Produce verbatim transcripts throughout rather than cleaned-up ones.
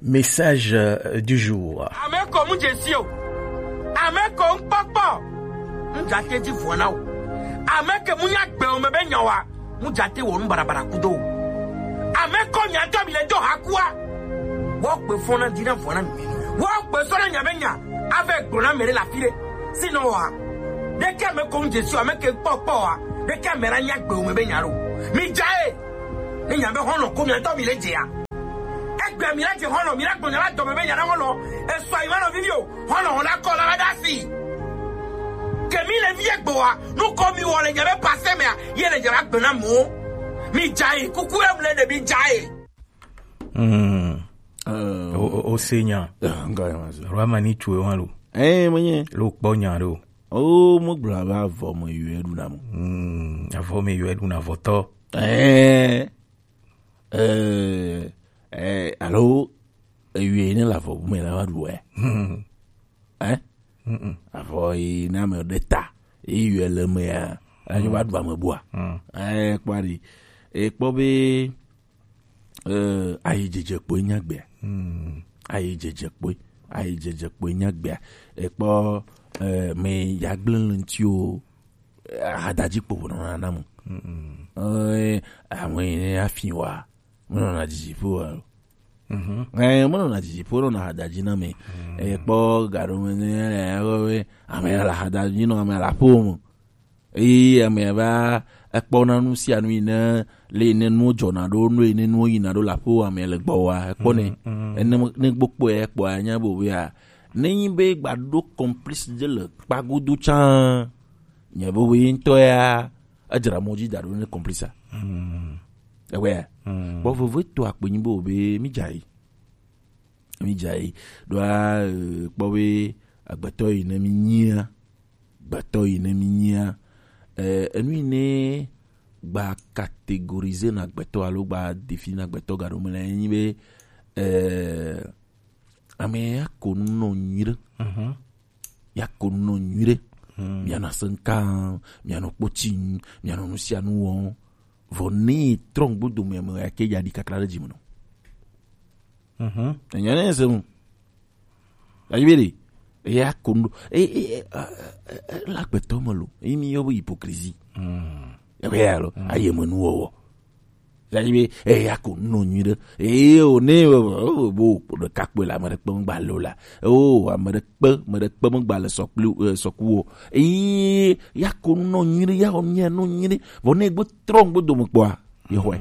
Message euh, du jour. Ame ko mu dze si o. Ame ko ŋkpɔkpɔ. Ŋdza te dzi vɔ na o. Ame ke mu nya gbe o me be nya wa. Mu dza te wɔ nu barabara kudo o. Ame ko nya tɔ mi le do ha kua. Wɔ gbe fɔ na di na vɔ na mi. Wɔ gbe sɔ na nya be nya. Ave gblɔ na me ɖe le afi ɖe. Sinɔ wa. Ɖeke ame ko mu dze si o, ame ke ŋkpɔkpɔ wa. Ɖeke ame la nya gbe o me be nya ɖo. Mi dza e. Ne nya be xɔlɔ ko mi ŋutɔ mi le dzea. Egbe mi la dze xɔlɔ, mi la gbɔna la dɔme be nya na xɔlɔ. Esɔ yi ma nɔ vivi o. Xɔlɔ xɔ la kɔ la va da si. Ke mi le vie gboa, nu ko mi wɔ le nya be pase mea, ye le nya la gbe na mo. Mi dza e, kuku em le de mi dza e. Mm. O o o se nya. Nga ya ma se. Rwa mani tu e wan lo. Eh, mo nye. Lo kpɔ nya lo. O mo gbla ba vɔ mo yue du na mo. Mm. Avɔ me yue du na vɔtɔ. Eh. Eh, eh, alo eyue ne le avɔ bu me la va ɖu ɛ. Eh? Avɔ yi ne ame ɖe ta. Eyue le me ya. Enyo va ɖu ame bua. Eh, kpɔ ɖi. Ekpɔ be eh, ayi dzedze kpoe nya gbea. Ayi dzedze kpoe. Ayi dzedze kpoe nya gbea. Ekpɔ eh, me ya gblẽ le ŋuti o. Ahadadzi kpo ƒo nɔna nam. Eh, ame yi ne afi wa, menɔna dzidziƒo wa lo. Eh, menɔna dzidziƒo, nɔna ahadadzi na me. Eh, kpɔ gaɖo me ne, eh, ame ya le ahadadzi nɔ, ame ya le aƒewo me. Eye ame ya va ekpɔna nu sia nu yi ne, le yi ne nuwo dzɔna ɖo, nu yi ne nuwo yina ɖo le aƒewo ame le gbɔ wa, ekpɔ ne. Ene ne gbɔ kpɔe ekpɔa, anya be wea, ne nyi be gba ɖo complice ɖe le kpa godo tsã, nye be woe ŋutɔ ya, edzra mɔ dzi da ɖo ne complice a. Ewɔe ya. Bɔ vovo eto akpe nyi be wo be mi dza yi. Mi dza yi. Ɖoa, eh, kpɔ be agbetɔ yi ne mi nyia. Agbetɔ yi ne mi nyia. Eh, enu yi ne gba catégoriser na agbetɔ alo gba définir na agbetɔ gaɖo me le nyi be, eh, ame ya ko nu nɔ nyuie ɖe. Ya ko nu nɔ nyuie ɖe. Mianɔ asem kam, mianɔ kpoti ŋu, mianɔ nu sia nu wɔm. Vɔ ne trɔ ŋgbodo me, ame ya ke ya ɖi kakla ɖe dzi me nɔ. Enya ne se mu. Ayi be ɖe. Eya ko nu. E, e, e, e, e, la gbetɔ me lo. Eyi mi yɔ be hypocrisie. Ebe ya lo. Ayi me nu wɔwɔ. Ayi be eya ko nu nɔ nyuie ɖe. Eye o ne o bo ɖeka kpe la, ame ɖe kpe ŋgba lo la. O ame ɖe kpe, ame ɖe kpe ŋgba le sɔkpli, eh, sɔku o. Eye ya ko nu nɔ nyuie ɖe, ya xɔ mia nɔ nyuie ɖe. Vɔ ne gbe trɔ ŋgbodo me kpɔa, ye xɔe.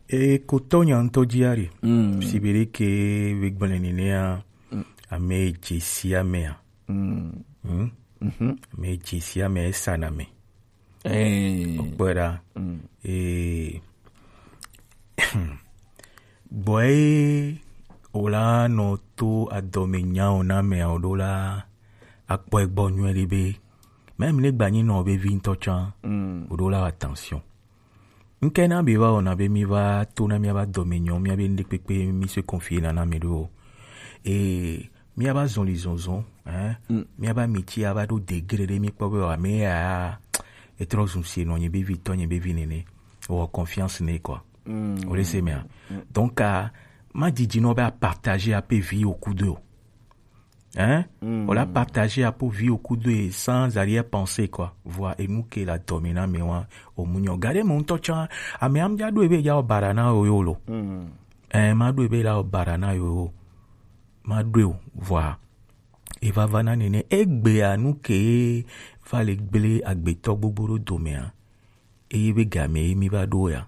E kotɔ nya ŋutɔ dzi ari. Si be ɖe ke be gblẽ nenea, ame dze si amea. Ame dze si ame esana me. Okpɔe ɖa. Ee. Gbɔe wòla nɔ to adɔme nyawo na amea o ɖo la, akpɔe gbɔ nyuie ɖi be, même ne gbanyi nɔ be vi ŋutɔ tsã, o ɖo la attention. Ŋke na be va wɔna be mi va to na miaba dɔme nyɔ, miabe ŋɖekpekpe mi se confier na na mi ɖo. E miaba zɔli zɔzɔ, hein? Miaba miti aba ɖo degré ɖe mi kpɔ be wa me ya etrɔ zun se nɔ nye be vi tɔ nye be vi nene. Wɔ confiance ne quoi. O le se mea. Donc, ah, ma didi nɔ be a partager a pe vie au coup de. Hein? On l'a partagé à peau vie au coup de sans arrière-pensée, quoi. Voilà, et nous qui la dominant, mais ouais, au mougnon. Regardez mon touch, hein. Ah, mais am dia do ebe ya o barana o yo lo. Eh, ma do ebe la o barana yo. Ma do, voilà. E va va na nene, egbe a nu ke va le gble agbetɔ gbogbo ɖo dome a. Eye be game ye mi va ɖo ya.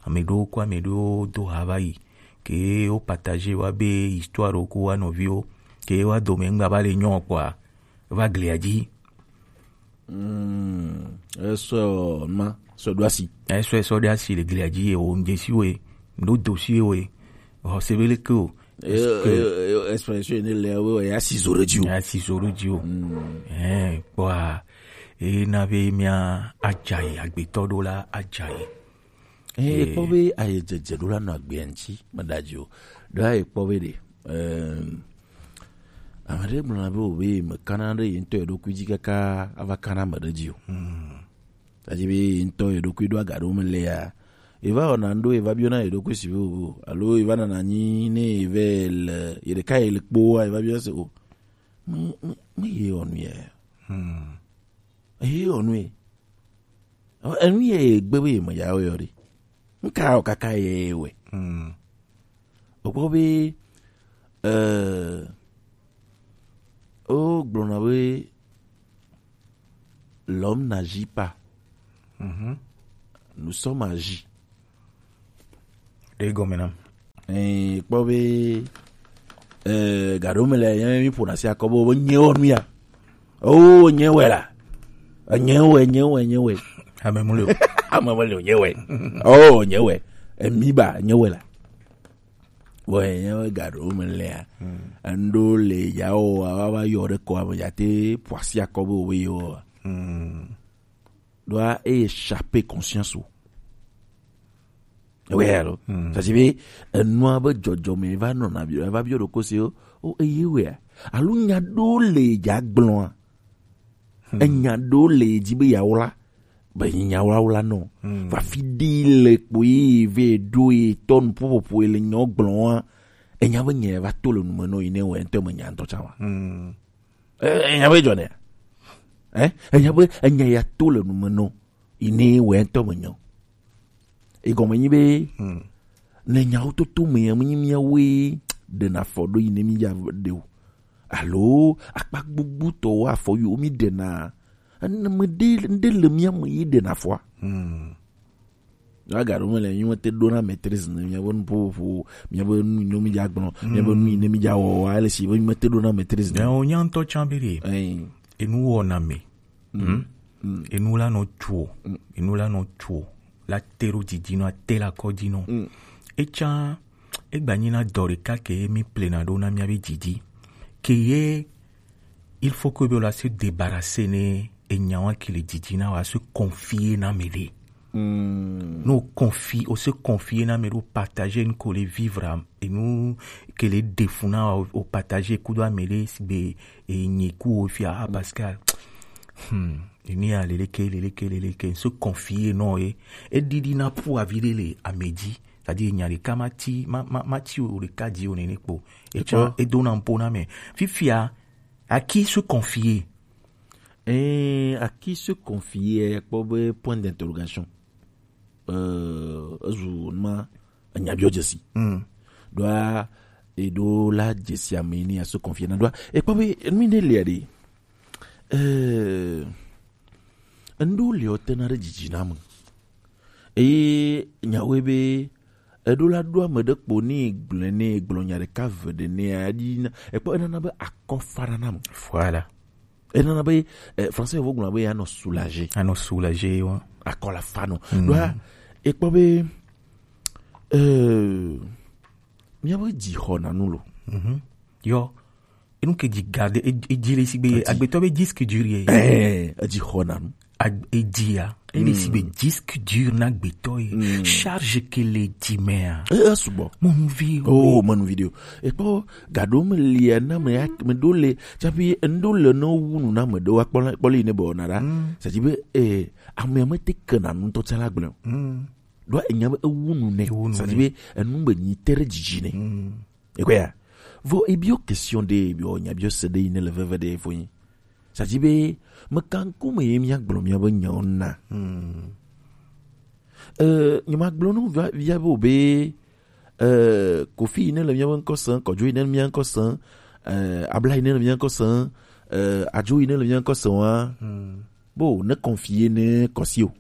Ame ɖewo kɔ ame ɖewo do ha va yi. Ke wo partager wa be histoire wo ku wa nɔviwo. Ke wa dome ŋgba va le nyɔ kpɔa, va glia dzi. Mm, esɔ ma, sɔ ɖo asi. Esɔ, esɔ ɖo asi le glia dzi ye wo ŋdze si wo ye. Ŋɖo do si ye wo ye. Xɔ se be leke o. Expression ne le wo ya si zo ɖe dzi o. Ya si zo ɖe dzi o. Eh, kpɔa, e na be mia adzae, agbetɔ ɖo la adzae. Eh, e kpɔ be aye dzedze ɖo la nɔ agbea ŋtsi, me da dzi o. Ɖo aye kpɔ be ɖe, eh, ame ɖe gblɔ na be o be me kana ɖe ye ŋutɔ ye ɖokui dzi kaka ava kana ame ɖe dzi o. Ta dzi be ye ŋutɔ ye ɖokui ɖo aga ɖo me le ya, Eva wɔna ŋɖo, eva biɔna yeɖokui si be o, alo eva nana anyi ne eve le yeɖeka ye le kpoa, eva biɔna se o. Me, me, me ye wɔ nu ya. Hmm. Ye wɔ nu ye. Enu ye gbe be ye me ya wɔ yɔ ɖe. Nka o kaka ye wɛ. Hmm. Okpɔ be, euh, o gblɔna be, l'homme n'agit pas. Mhm. Nous sommes agi. Ɖe gɔme nam. Eh, kpɔ be, eh, gaɖo me le, ye mi ƒona si akɔ be, be nye wɔ nu ya. Oh, nye wɛ la. Eh, nye wɛ, nye wɛ, nye wɛ. Ame mu le o. Ame mu le o, nye wɛ. Oh, nye wɛ. Emi ba, nye wɛ la. Vɔ, enye be gaɖewo me lea, hmm, enu ɖewo le ya wɔ, wa, wa, va yɔ ɖe kɔa me, ya te ƒo asi akɔ be wobe yewɔ. Hmm. Ɖoa, eye échappe conscience o. Ewɔe alo? Hmm. Ça dit be, enua be dzɔdzɔme va nɔna biɔ, va biɔ ɖokui si o, o, eye wea? Alo nya ɖewo le ya gblɔa? Hmm. Enya ɖewo le edzi be yeawla, be nyawlawla nɔ. Hmm. Va fi ɖe le kpo ye ve ɖo ye tɔ nuƒoƒoƒo ye le nyɔ gblɔ wa. Enya be nye va to le nume nɔ yi ne wɔ ŋutɔ me nya ŋutɔ tsa wa. Hmm. E-, enya be dzɔ ne. Eh? Enya be enya ya to le nume nɔ yi ne wɔ ŋutɔ me nyɔ. Egɔme nyi be, hmm, le nyawo toto me, menyi míawoe ɖena afɔ ɖo yi ne mídza ɖe o. Alo akpa gbugbutɔwo afɔ yiwo míɖena. Ame ɖe, ɖe le mía me yi ɖena afɔa. Hmm. Agaɖo me le, mímete ɖona maîtrise ne míabe nuƒoƒo, míabe nu yi ne mídza gblɔ, hmm, míabe nu yi ne mídza wɔ, wa ele si be mímete ɖona maîtrise ne. Nyawo nya ŋutɔ tsã be ɖe. Ɛɛ. Enu wɔna me. Mm. Mm. Enu la nɔ tso, mm, enu la nɔ tso, la te ɖo dzidzi nɔ, ate la kɔ dzi nɔ. Mm. Etsã, egba nyi na dɔ ɖeka ke ye mi plena ɖo na mía be dzidzi. Ke ye, il faut que be la se débarrasser ne enya wa ke le dzidzi na wa se confier na me ɖe. Mm. No confier, o se confier na me ɖo partager nu ko le vivre am, enu ke le defu na wa, o partager kudo ame ɖe sigbe e nyi ku wo fia, ah, Pascal. Hmm. Eni ya leleke, leleke, leleke. Se confier nɔ ye. E ɖiɖi na pu avi ɖe le ame dzi. C'est-à-dire, nya ɖeka ma ti, ma, ma, ma ti o ɖeka dzi o nene kpo. Etsã, edo na mpo na me. Fifia, à qui se confier? Eh, à qui se confier, kpɔ be point d'interrogation. Euh, ezu ma, enya biɔ dzesi. Mm. Ɖoa, eɖo la dzesi ame ni aso confier na ɖoa. Ekpɔ be, enu ne le ɖe. Euh, enu le o tena ɖe dzidzi na me. Eye nyawoe be, eɖo la ɖo ame ɖe kpo ne gblɔe ne gblɔ nya ɖeka ve ɖe ne aɖi na, ekpɔ enana be akɔfara na me. Voilà. Enana be, eh, français vo gblɔ be anɔ soulagé. Anɔ soulagé, wa. Akɔ la fa nɔ. Mm. Ɖoa, ekpɔ be, eh, míabe dzi xɔna nu lo. Mhm. Yɔ, enu ke dzi garde, e, e dzi le si be, edzi, agbetɔ be disque dur ye. Eh, edzi xɔna nu. Ag-, edzia, ele si be, mm, disque dur na agbetɔ ye. Mm. Charge ke le dzi mea. Eh, eh, sugbɔ. Mɔnuvi. Oh, mɔnuvi de o. Ekpɔ, gaɖo me lia na me ya, me ɖo le, tsafi ŋɖo le no wu nu na me ɖo wa kpɔ la, kpɔ le yi ne be ona ɖa. Mm. C'est-à-dire be, eh, ame me te ke na nu tɔ tsala gblẽ. Mm. Ɖo enya be ewu nu nɛ. Ewu nu nɛ. C'est-à-dire be enu be nyi te ɖe dzidzi nɛ. Mm. Ekɔe ya. Vɔ ebiɔ question ɖe, ebiɔ nya biɔ se ɖe yi ne le veve ɖe fo nyi. C'est-à-dire be, me kan ku me ye mía gblɔ mía be nyawo na. Hmm. Euh, nye ma gblɔ nu via, via be o be, euh, kofi yi ne le mía be ŋkɔ se, kɔdzo yi ne le mía ŋkɔ se, euh, abla yi ne le mía ŋkɔ se, euh, adzo yi ne le mía ŋkɔ se wa. Hmm. Bo, ne confier ne kɔsi o.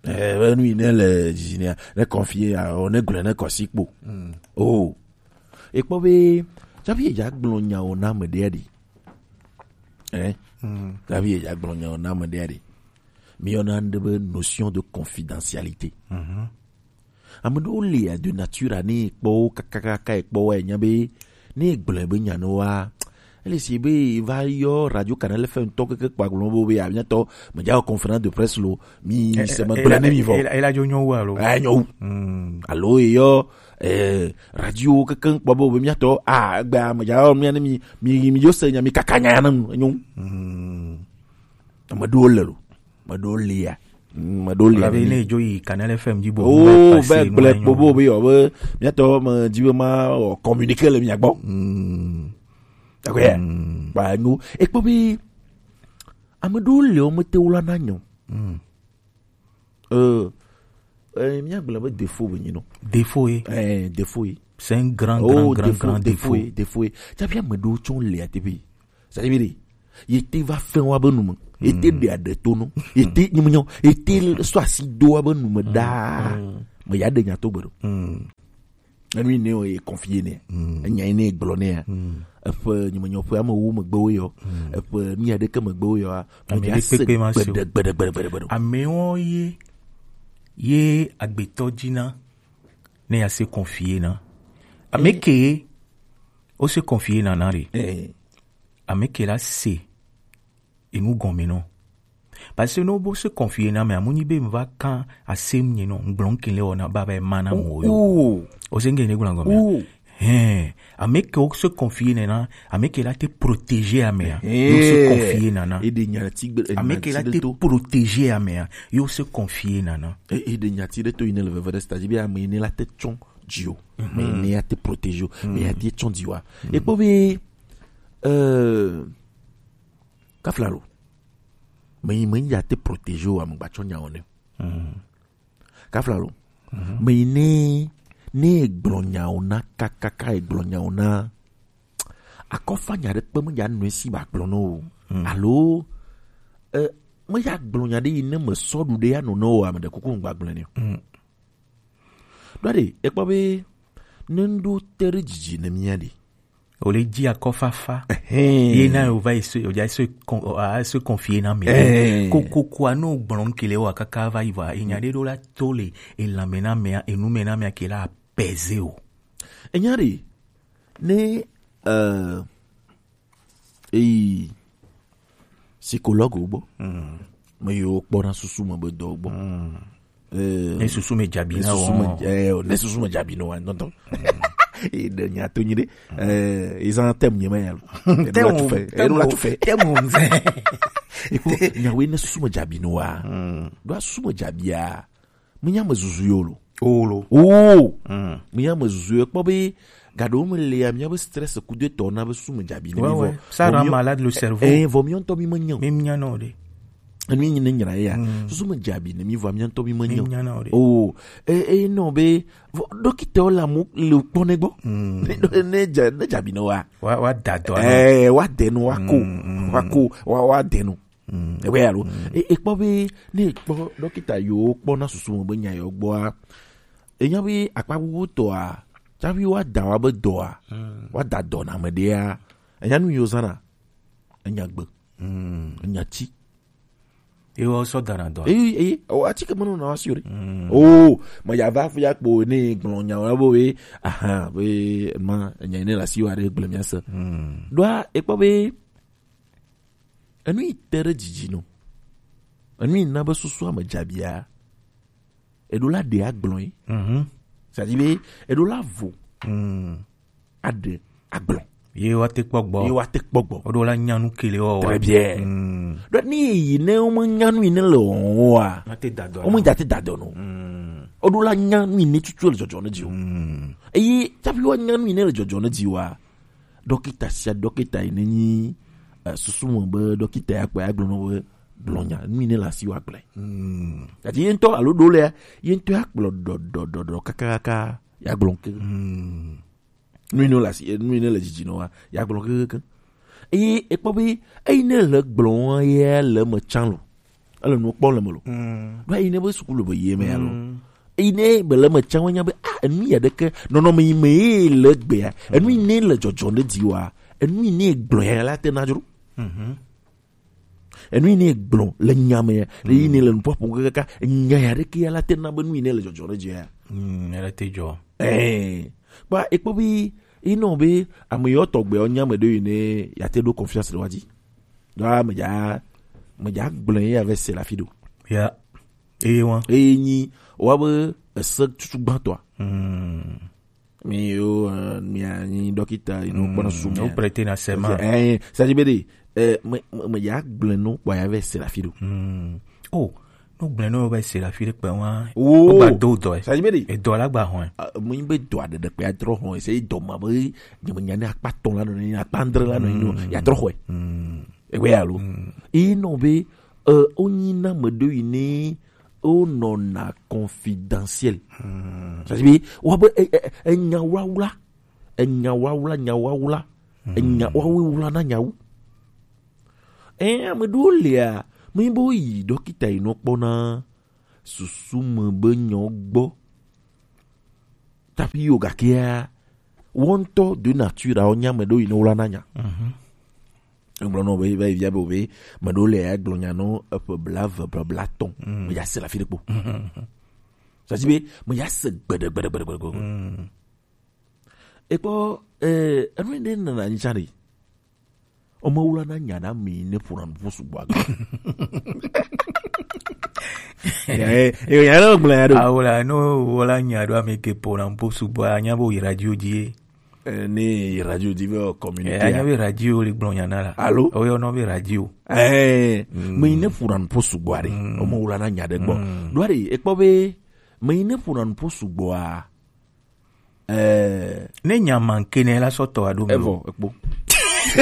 Eh, be nu yi ne le dzizi nea, ne confier ya, o ne gblɔe ne kɔsi kpo. Mm. Oh. Ekpɔ be, tsafi edza gblɔ nyawo na ame ɖea ɖi. Eh? Mm. Tsafi edza gblɔ nyawo na ame ɖea ɖi. Mi yɔna ŋɖe be notion de confidentialité. Mhm. Ame ɖewo lia de nature a ne kpɔ wo kakakaka ekpɔ wa enya be, ne gblɔe be nya ne wa, ele si be va yɔ Radio Canal F M tɔ keke kpa gblɔ be, be, ah, miatɔ, medza wɔ conférence de presse lo, mi, eh, se eh, me eh, gblɔ ne mi vɔ. Eh, eh, ela dzo nyɔ wu alo? Eh, nyɔ wu. Hmm. Alo eyɔ, eh, radio keke kpɔ be, be miatɔ, ah, egbe medza wɔ mia ne mi, mi, mi yo se nya, mi kaka nya ya ne nu, enyo. Hmm. Ame ɖewo le lo, ame ɖewo lia. Mm, me ɖo lia. Labe ne dzo yi Canal F M dzi bo. Oh, be gble kpo bo be yo be mía tɔ me dzi be ma o communiquer le mía gbɔ. Mm. D'accord. Mm. Ba nu. E kpo be ame ɖewo le wo mete wla na nyɔ. Mm. Euh, euh, mía gblɔ be défaut be nyi no. Défaut ye. Eh, défaut ye. C'est un grand, oh, grand, grand, défaut, grand défaut. Défaut ye, défaut ye. Tsafi ame ɖewo tsɔ le ate be. Ça veut dire, yete va fɛn wa be nume. Yete ɖe aɖe to no. Yete nyimnyɔ. Yete sɔ asi do wa be nume da. Me ya ɖe nya to gbe ɖo. Enu yi ne ye confier ne. Enya yi ne gblɔ ne ya. Eƒe nyimnyɔ ƒe ame wo megbe wo yɔ. Eƒe mi aɖeke megbe wo yɔ. Ame ɖe kpekpe ma se o. Gbede, gbede, gbede, gbede, gbede. Amewo ye, ye agbetɔ dzina ne ya se confier na. Ame ke wo se confier na na re. Eh. Ame ke la se enu gɔme nɔ. Parce que ne wo se confier na mea, mu nyi be mu va kan asem nye nɔ, ŋgblɔ ŋke le wɔna ba va ma na mo yo. Oh. O se ŋke ne gblɔ gɔme. Oh. Hein, ame ke wo se confier nɛ na, ame ke la te protéger amea, yo se confier nana. E de nya ti gbe, ame ke la te protéger amea, yo se confier nana. E, e de nya ti ɖe to yi ne le veve ɖe, c'est-à-dire be ame yi ne la te tsɔ dzi o, ame yi ne ya te protéger o, ame ya te tsɔ dzi wa. E kpɔ be, euh, kafla lo. Me yi me ya te protéger o, ame gba tsɔ nya o ne. Kafla lo. Me yi ne, ne egblɔ nyawo na kakaka, egblɔ nyawo na. Akɔfa nya ɖe kpe me ya nɔ esi ba gblɔ no o. Alo, eh, me ya gblɔ nya ɖe yi ne me sɔ ɖu ɖe ya nɔ no o, ame ɖe kuku ŋgba gblɔ ne o. Ɖo ɖe, ekpɔ be ne ŋɖo te ɖe dzidzi ne mía ɖe. O le dzi akɔfafa. Ye na o va se, o ja se con-, o a se confier na me. Kokoko a no gblɔ ŋke le wa kaka va yi va. Enya ɖe ɖo la to le elame na mea, enu me na mea ke la apaiser o. Enya ɖe, ne, euh, eyi psychologue wo gbɔ. Me yiwo kpɔna susu me be dɔ gbɔ. Eh, ne susu me dzabi ne na susu me, wo. Eh, ne susu me dzabi no wa, ŋutɔ. E de nya to nyi ɖe. Eh, ezan tem nye me ya lo. Tem o, tem o, tem o. Eko, nyawe ne susu me dzabi no wa. Ɖo susu me dzabia. Menya me zuzu yo lo. O lo. O. Menya me zuzu yo kpɔ be gaɖewo me le ya, mía be stress kudo etɔ na be susu me dzabi ne mi vɔ. Ça rend malade le cerveau. Eh, vɔ mía ŋutɔ mi me nya o. Mi nya no de. Enu yi ne nyra ya. Susu me dzabi ne mi vɔ mía ŋutɔ mi me nya o. Mi nya no de. O. Eh, eh, no be vɔ, dɔkita la mo le kpɔ ne gbɔ. Ne, ne dza-, ne dzabi ne wa. Wa, wa da dɔ. Eh, wa de no, wa ko. Wa ko, wa, wa de no. Ewe alo. E, e kpɔ be, ne e kpɔ dɔkita yiwo kpɔna susu me be nya yiwo gbɔa, e nya be akpa bubu tɔa, tsafi wa da wa be dɔa, wa da dɔ na ame ɖea, e nya nu yiwo zana, e nya gbe, e nya ti. Ye wa sɔ da na dɔa. Eyi, eyi, o atike menu na wa si o ɖe. O, me ya va fi ya kpo ne gblɔ nya wa bo we, aha, be ma, nya ne la si wa ɖe gblɔ mía se. Ɖoa, e kpɔ be, enu yi te ɖe dzidzi no. Enu yi na be susu ame dzabia. Eɖo la ɖe agblɔ yi. C'est-à-dire be, eɖo la vo. Aɖe agblɔ. Ye wa te kpɔ gbɔ. Ye wa te kpɔ gbɔ. O ɖo la nya nu kele wa. Très bien. Donc, ni yi ne o me nya nu yi ne le o wa. Ma te da dɔ. O me ja te da dɔ no. O ɖo la nya nu yi ne tutu le dzɔdzɔ ne dzi o. Eye, tsafi wa nya nu yi ne le dzɔdzɔ ne dzi wa. Dɔkita sia dɔkita yi ne nyi, eh, susu me be dɔkita ya kpɔ ya gblɔ nɔ be gblɔ nya, nu yi ne le asi wa gblɔe. Gati ye ŋutɔ alo ɖo lea, ye ŋutɔ ya kplɔ dɔ, dɔ, dɔ, dɔ, kaka, kaka, ya gblɔ ke. Nu yi ne le asi, nu yi ne le dzidzi nɔ wa, ya gblɔ ke, ke, ke. Eye ekpɔ be, eyi ne le gblɔ wa ye le me tsã lo. Ele nu kpɔm le me lo. Ɖo eyi ne be sukulu be ye me ya lo. Eyi ne be le me tsã wa nya be, ah, enu ya ɖeke, nɔnɔme yi me ye le gbea, enu yi ne le dzɔdzɔ ne dzi wa, enu yi ne gblɔ ya la te na dzro. Enu yi ne gblɔ le nya me ya, le yi ne le nuƒoaƒo kaka, nya ya ɖeke ya la te na be nu yi ne le dzɔdzɔ ne dzi ya. Mm, ya la te dzɔ. Eh, kpa ekpɔ be, yi nɔ be, ame yɔ tɔgbe ɔ nya me ɖe yi ne ya te ɖo confiance ɖe wa dzi. Ɖo a me dza, me dza gblɔ ye avec c'est la fi ɖo. Ya. Eye wa. Eye nyi, wa be ese tutu gbãtɔa. Mi yo, eh, mi anyi dɔkita, yi no kpɔna susu mi. O prêter na serment. Eh, ça dit be de, eh, me, me, me ya gblɔ no kpɔ ya avec c'est la fi ɖo. Oh, No gblẽ no be se la fi ɖe kpe wa. Oh. O gba do dɔ e. Ça veut dire? E dɔ la gba hɔn. Mo be dɔ aɖe ɖe kpe adro hɔn, se dɔ ma be nyemenya ne akpa tɔn la nɔ ne akpa andre la nɔ no ya trɔ xɔe. Ewe alo. Ino be, o nyi na me do yi ne o nɔ na confidentiel. Ça veut dire be wa be enya wawla, enya wawla, enya wawla, enya wawe wla na nyawu. Ɛ, ame ɖewo lia, mi be woyi ɖɔkita yi nɔ kpɔna susu me be nyɔ gbɔ. Tapi yo gakea, wɔntɔ de nature awo nya me ɖewo yi ne wla na nya. Egblɔ nɔ be, be, be, be, me ɖewo le ya gblɔ nya nɔ eƒe bla ve, bla, bla tɔn. Me ya se la fi ɖe kpo. Ça veut dire be, me ya se gbede, gbede, gbede, gbede, gbede. Ekpɔ, eh, enu ɖe nana nyi tsa ɖe. Ɔmɔ wula na nya ɖa mi ne ƒona nuƒo sugbɔ agbe. Eh, eh, ya ɖe gblẽ ya ɖo. Awola, no wola nya ɖo ame ke ƒona nuƒo sugbɔ, anya bo yi radio dzi. Eh, ne yi radio dzi be communiqué. Eh, anya be radio le gblɔ nya na la. Alo? Oyɔ nɔ be radio. Eh, me ne ƒona nuƒo sugbɔ aɖe. Ɔmɔ wula na nya ɖe gbɔ. Ɖo aɖe, ekpɔ be, me ne ƒona nuƒo sugbɔa, eh, ne nya manke ne la sɔ tɔ aɖo me. Evɔ, ekpo.